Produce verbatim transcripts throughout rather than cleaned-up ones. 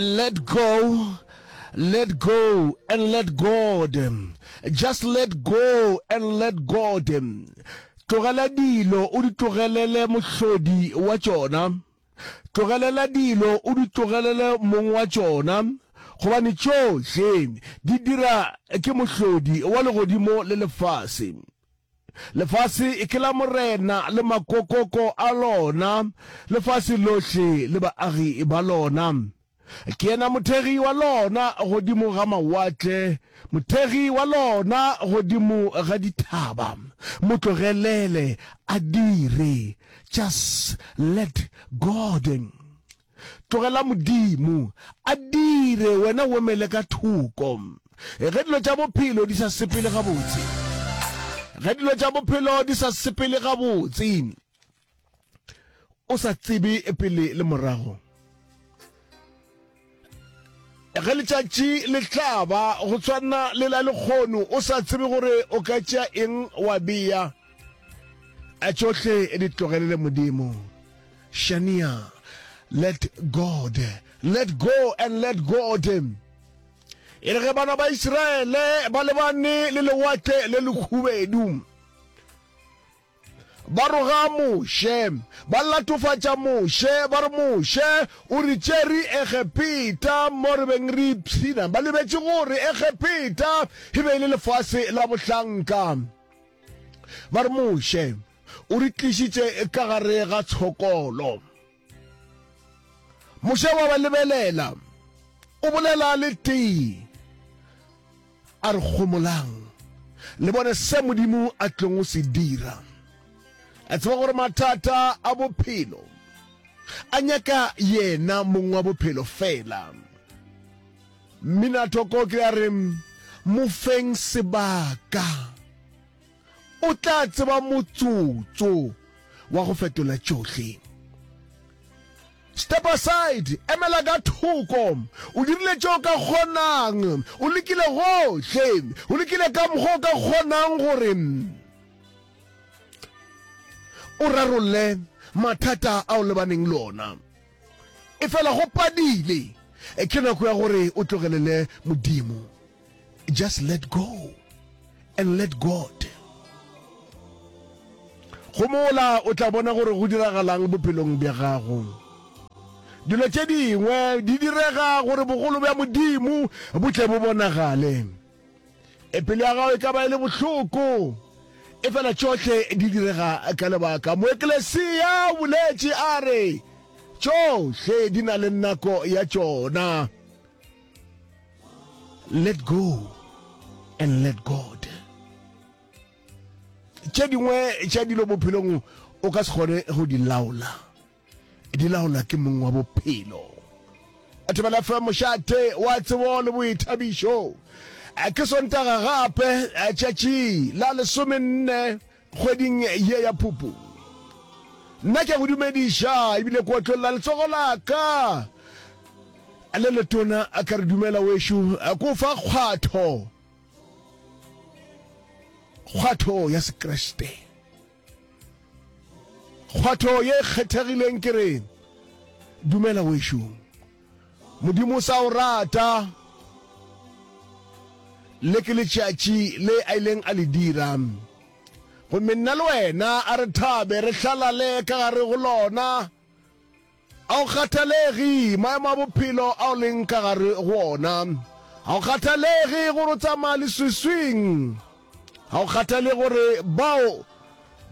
Let go, let go and let God. Just let go and let God. Tlogela dilo o di tlogelele mohlodi wa tšona. Tlogelela dilo o di tlogelele mong wa tšona, gobane tšohle di dira ke mohlodi wa legodimo le lefase. Lefase ke la Morena le makokoko a lona, lefase lohle le baagi ba lona. Ke yena mothegi wa lona godimo ga mawatle, mothegi wa lona godimo ga dithaba. Mo tlogelele a dire. Just let God. Tlogela Modimo a dire, wena o emele ka thoko. Ge dilo tša bophelo di sa sepele gabotse, ge dilo tša bophelo di sa sepele gabotse, o sa tsebe pele le morago, ge letšatši le hlaba go tshwana le la lekgono, o sa tsebe gore o ka tšea eng wa bea, a tšohle di tlogelele Modimo. Shania, let God, let go and let God. E re ge bana ba Isiraele ba lebane le lewatle le lekhubedu, ba roga Moshe, ba latofatša Moshe, ba re Moshe o re tšere Egepeta mo re beng re ipshina. Ba lebetše gore Egepeta e be e le lefase la bohlanka. Ba re Moshe o re tlišitše ka gare ga tshokolo. Moshe wa ba lebelela, o bolela le tee, a re gomolang, le bone se Modimo a tlong go se dira. A tseba gore mathata a bophelo a nyaka yena mong wa bophelo fela. Mminathoko ke a re mo feng sebaka, o tla tseba motsotso wa go fetola tšohle. Step aside, emela ka thoko. O dirile tše o ka kgonang, o lekile gohle, o lekile ka mokgwa o ka kgonang gore o rarolle mathata a o lebaneng le ona. Efela go padile, ke nako ya gore o tlogelele Modimo. Just let go and let God. Gomola, o tla bona gore go diragalang bophelong bja gago. Dilo tše dingwe di direga gore bogolo bja Modimo bo tle bo bonagale. E pelo ya gago e ka ba e le bohloko, efela tšohle di direga ka lebaka. Moeklesia o boletše a re, Tšohle di na le nako ya tšona. Let go and let God. Tše dingwe tša dilo bophelong o ka se kgone go di laola, di laola ke mong wa bophelo. Thobela F M, mošate wa tsebo le boithabišo. Ke Sontaga gape, tšatši la lesomenne kgweding ye ya Phupu. Nna ke a go dumediša ebile ke otlolla letsogo la ka le letona ka re dumela wešo, ke o fa kgwatho, kgwatho ya Sekriste, kgwatho ye kgethegileng. Ke re dumela wešo, Modimo o sa o rata. Le ke letšatši le a ileng a le dira, gomme nna le wena a re thabe re hlalale ka gare go lona. A o kgathalegi maemo a bophelo a o leng ka gare go ona. A o kgathalegi gore o tsamaya leswiswing. A o kgathale gore bao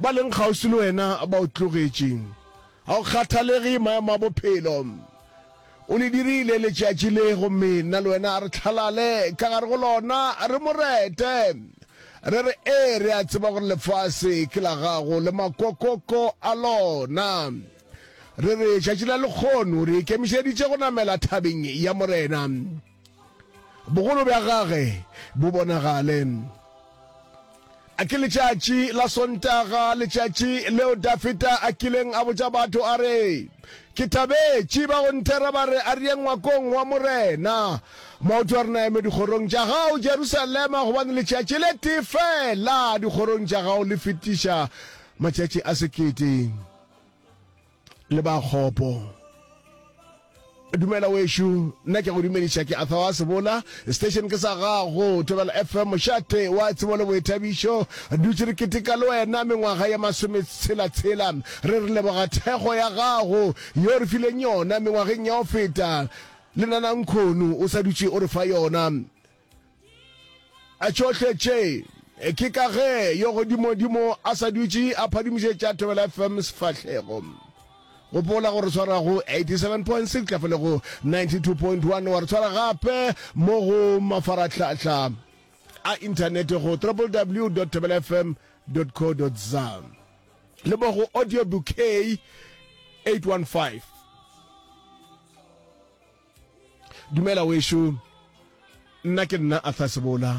ba leng kgauswi le wena ba o tlogetše. A o kgathalegi maemo a bophelo. O le dirile letšatši le, gomme nna le wena a re hlalale ka gare go lona, re mo rete. Re re, Ee, re a tseba gore lefase ke la gago le makokoko a lona. Re re, tšatši la lekgono re ikemišeditše go namela thabeng ya Morena. Bogolo bja gage bo bonagale. A ke letšatši la Sontaga, letšatši leo Dafida a kileng a botša batho a re, Ke thabetše ba go nthera ba re, A re ye ngwakong wa Morena. Maoto a rena a eme dikgorong tša gago, Jerusalema, gobane letšatši le tee feela dikgorong tša gago le fetiša matšatši a sekete. Le ba kgopo Dumela wešo, nna ke go dumediša ke Arthur wa Sebola, station ke sa gago, Thobela F M, mošate wa tsebo le boithabišo. Dutše re keteka le wena mengwaga ya masometshela-tshela, re re leboga thekgo ya gago yo re fileng yona mengwageng ya go feta, le nanankhono o sa dutše o re fa yona. A tšohle tše ke ka ge yo godimodimo a sa dutše a phadimišetša Thobela F M sefahlego. Gopola gore tshwara go eighty-seven point six tla fele go ninety-two point one, wa re tshwara gape mo go mafarahlahla a inthanete go w w w dot thobela f m dot co dot za le mo go audio bouquet eight one five. Dumela wešo, nna ke nna Arthur Sebola,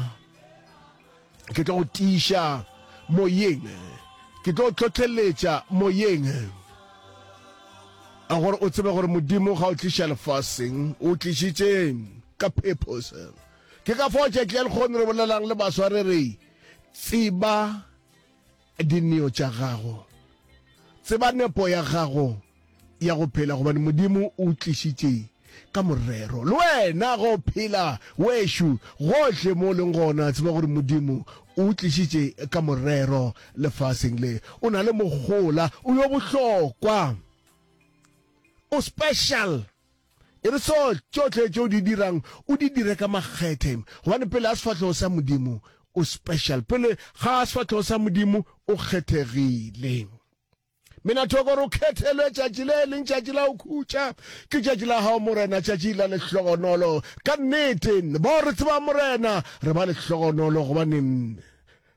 ke tlo go tiiša moyeng, ke tlo tlhohleletša moyeng a gore o tsebe gore Modimo ga o tliša lefaseng, o tlišitše ka purpose. Ke ka fao tšatši la lekgono re bolelang le baswa re re tseba dineo tša gago, tseba nepo ya gago ya go phela, gobane Modimo o tlišitše ka morero. Le wena go phela wešo gohle mo o leng gona, tseba gore Modimo o tlišitše ka morero lefaseng le. O na le mogola, o yo bohlokwa, o special. E re so tšohle tše o di dirang o di dire ka makgethe, gobane pele ga sefahlego sa Modimo o special, pele ga sefahlego sa Modimo o kgethegile. Mina thoko re o kgethelwe tšatši le leng tšatši la go khutša, ke tšatši la gago Morena, tšatši la lehlogonolo. Ka nnete bao re tsebang Morena re ba lehlogonolo, gobane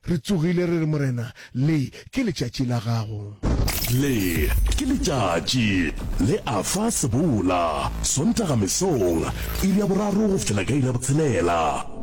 re tsogile re re Morena, le ke letšatši la gago. Le ke letšatši le Arthur Sebola, Sontaga mesong, iri ya boraro go fihlela ka iri ya botshelela.